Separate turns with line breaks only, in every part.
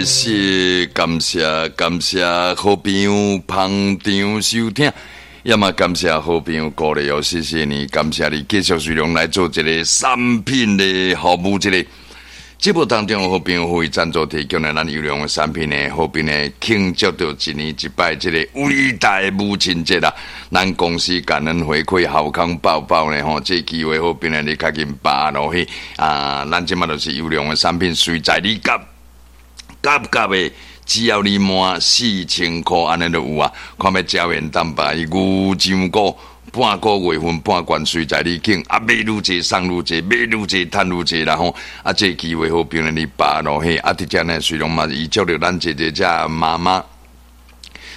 是感謝感謝好朋友捧場收聽，也嘛感謝好朋友鼓勵哦，謝謝你，感謝你繼續隨量來做這個產品的服務，這個節目當中好朋友會贊助提供的咱優良的產品呢，好朋友慶祝著一年一擺這個偉大的母親節啦，咱公司感恩回饋好康報報呢吼，這個機會好朋友你較緊把握落去啊！咱這馬就是優良的產品，隨在你夾夾夾的，只要你滿4000箍，按呢就有啊。看欲膠原蛋白、牛樟菇，半個月份半罐隨在你揀，啊買愈濟送愈濟，買愈濟趁愈濟啦吼。啊，這個機會好朋友你把握落去，啊，佇遮呢雖然嘛預祝著咱這個遮媽媽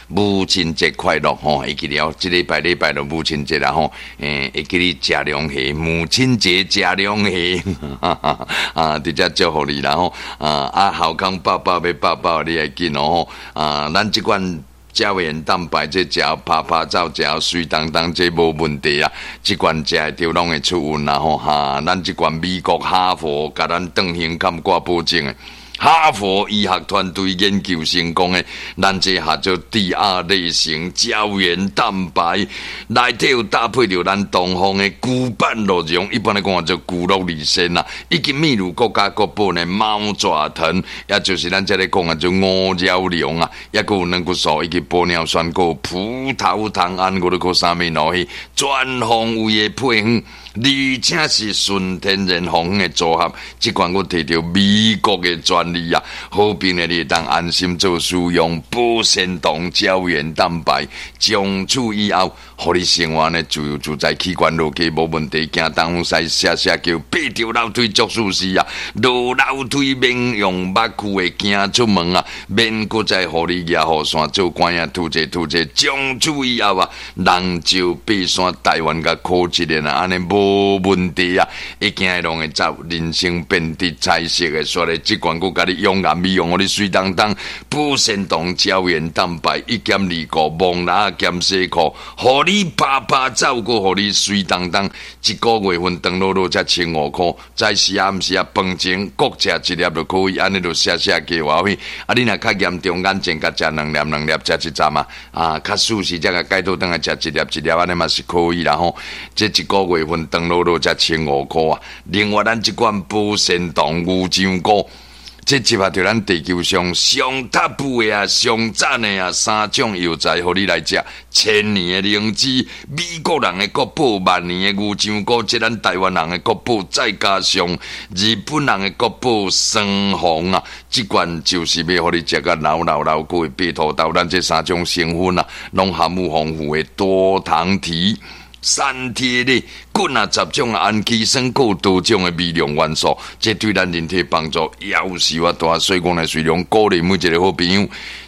母親節快樂吼，會記得哦，這禮拜禮拜就母親節啦吼，會記得食龍蝦，母親節食龍蝦，啊，佇遮祝福你啦吼，啊，好康報報欲報報，你愛緊哦吼，啊，咱這款膠原蛋白這食拍拍走，食媠當當，這無問題啊！這款食會著攏會出運啦吼，哈！咱這款美國哈佛共咱當胸坎掛保證的。哈佛醫學團隊研究成功的，咱這合做第二類型膠原蛋白，內底有搭配著咱東方的龜板鹿茸，一般來講叫做龜鹿二仙啦，以及秘魯國家國寶的貓爪藤，也就是咱這裡講的做烏鳥龍啊，抑閣有軟骨素以及玻尿酸，閣有葡萄糖胺，閣閣啥物落去，全方位的配方。而且是純天然防的組合，這款閣提著美國的專利啊，好朋友你會當安心做使用，保鮮糖膠原蛋白，從此以後，予你生活呢自由自在，器官落去無問題，行東西寫寫叫，爬著樓梯足舒適啊，落樓梯免用目睭的行出門啊，免閣再予你舉雨傘做官仔吐這吐這，從此以後啊，人就爬山台灣共考一年啊，按呢無問題啊，一行會攏會走，人生變得彩色的，煞咧這款閣共你養顏美容，予你媠當當，保鮮糖膠原蛋白一減二顧，摸籃兼洗褲，予你拍拍走，閣予你媠當當，一個月份長落落才1500箍，早時暗時啊飯前各食一粒就可以，按呢就寫寫計劃去。啊，你若較嚴重，眼前共食兩粒兩粒，食一站啊，啊，較舒適才共解倒轉來食一粒一粒，按呢嘛是可以啦吼。這一個月份長落落才千五箍啊！另外，咱這款保鮮糖牛樟菇，這集合著咱地球上上 top 的啊、上讚的啊三種藥材，予你來食。千年的靈芝，美國人的國寶；萬年的牛樟菇，這咱台灣人的國寶，再加上日本人的國寶桑紅啊！這款就是欲予你食甲老老老久的白土豆。咱這三種成分啊，攏含有豐富的多糖體。三萜類，幾若十種氨基酸，閣有多種的微量元素，這對咱人體幫助夭壽啊大。所以講呢，雖然鼓勵每一個好朋友，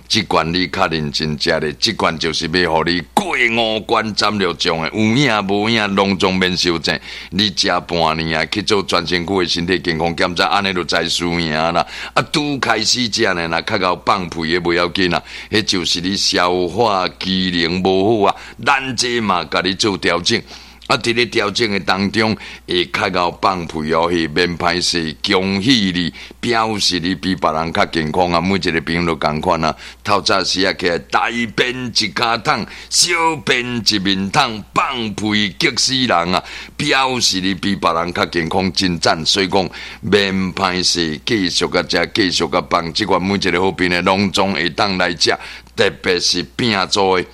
這款你較認真食咧，這款就是欲予你過五關斬六將的，有影無影，攏總免相爭。你食半年啊，去做全身軀的身體健康檢查，按呢就知輸贏啦。啊，拄開始食呢，若較𠢕放屁的袂要緊啊，彼就是你消化機能無好啊。咱這嘛共你做調整。啊，佇咧調整的當中，會較𠢕放屁哦，彼免歹勢，恭喜你，表示你比別人較健康啊！每一個朋友都仝款啊。透早時啊起來，大便一跤桶，小便一面桶，放屁激死人啊！表示你比別人較健康，真讚。所以講，免歹勢，繼續共食，繼續共放。這款每一個好朋友攏總會當來食，特別是餅做的。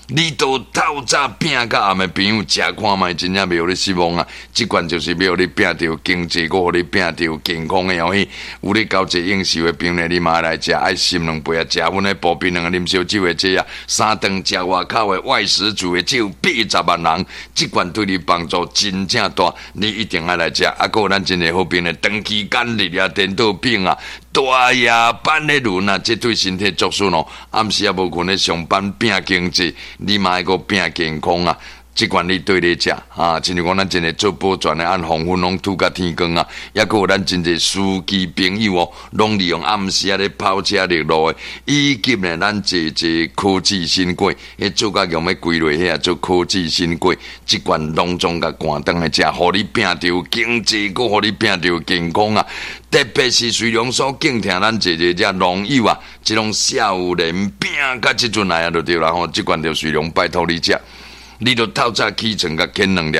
你都透早拼到暗的朋友，食看覓，真正袂予你失望啊！這款就是欲予你拼著經濟，閣予你拼著健康的哦。有咧交際應酬的朋友，你嘛來食，愛心兩杯啊！食阮的步兵兩個啉燒酒的這啊，三頓食外口的外食族的只有80萬人，這款對你幫助真正大，你一定愛來食。啊，閣有咱真濟好朋友，長期間日啊，顛倒病啊，大夜班的輪啊，這對身體作損哦。暗時仔無睏咧上班拼經濟，你嘛愛閣拼健康啊！這款你對咧食啊，親像講咱真濟做保全的，按黃昏攏吐甲天光啊，抑閣有咱真濟司機朋友哦，攏利用暗時仔咧跑車陸路的，以及呢，咱濟濟科技新貴，彼做甲強欲歸落遐做科技新貴，這款攏總共趕轉來食，予你拼著經濟，閣予你拼著健康啊！特別是隨量所敬聽咱濟濟遮農友啊，這種少年拼甲這陣來啊，就對啦吼，這款就隨量拜託你食。你著透早起床，共啃兩粒，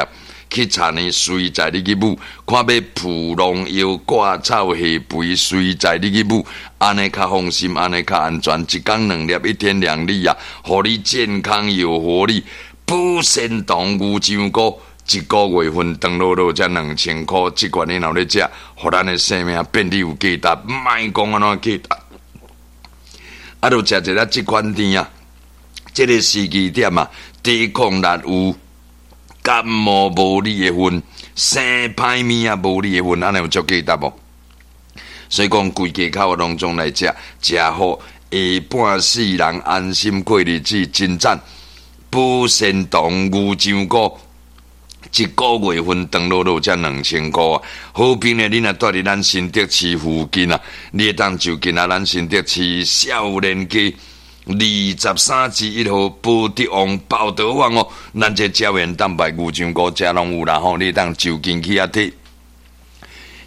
去查呢，隨在你去舞，看欲撲農藥、割草、下肥，隨在你去舞，按呢較放心，按呢較安全。一工兩粒，一天兩粒啊，予你健康有活力。保鮮糖牛樟菇，一個月份長落落才2000箍，這款你若咧食，予咱的生命變得有價值，莫講按怎價值。啊，著食一下這款甜啊，這個時機點啊。抵抗力有，感冒無你的份，生歹物仔無你的份，按呢有足價值無？所以講，規家口攏總來食，食好下半世人安心過日子，真讚！保鮮糖牛樟菇，一個月份長落落才2000箍啊！好朋友，你若蹛佇咱新竹市附近啊，你會當就近啊，咱新竹市少年街23之1號寶德旺寶德旺哦，咱這膠原蛋白牛樟菇遮攏有啦吼，你當就近去遐提。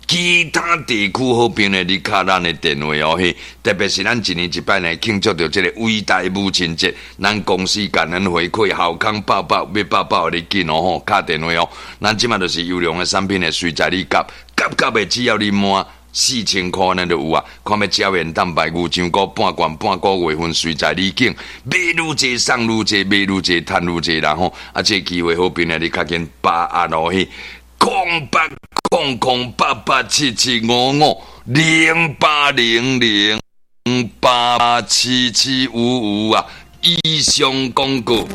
其他地區好朋友，你敲咱的電話哦嘿，特別是咱一年一擺呢慶祝著這個偉大母親節，咱公司感恩回饋，好康報報欲報報予你緊哦吼，敲電話哦。咱這馬就是優良的產品的隨在你夾夾夾的，只要你滿4000箍咱就有啊！看欲膠原蛋白牛樟菇半罐半個月份隨在你揀，買愈濟送愈濟，買愈濟趁愈濟啦吼！啊，這個機會好朋友，你較緊把握落去，0800887755，0800887755啊！以上廣告。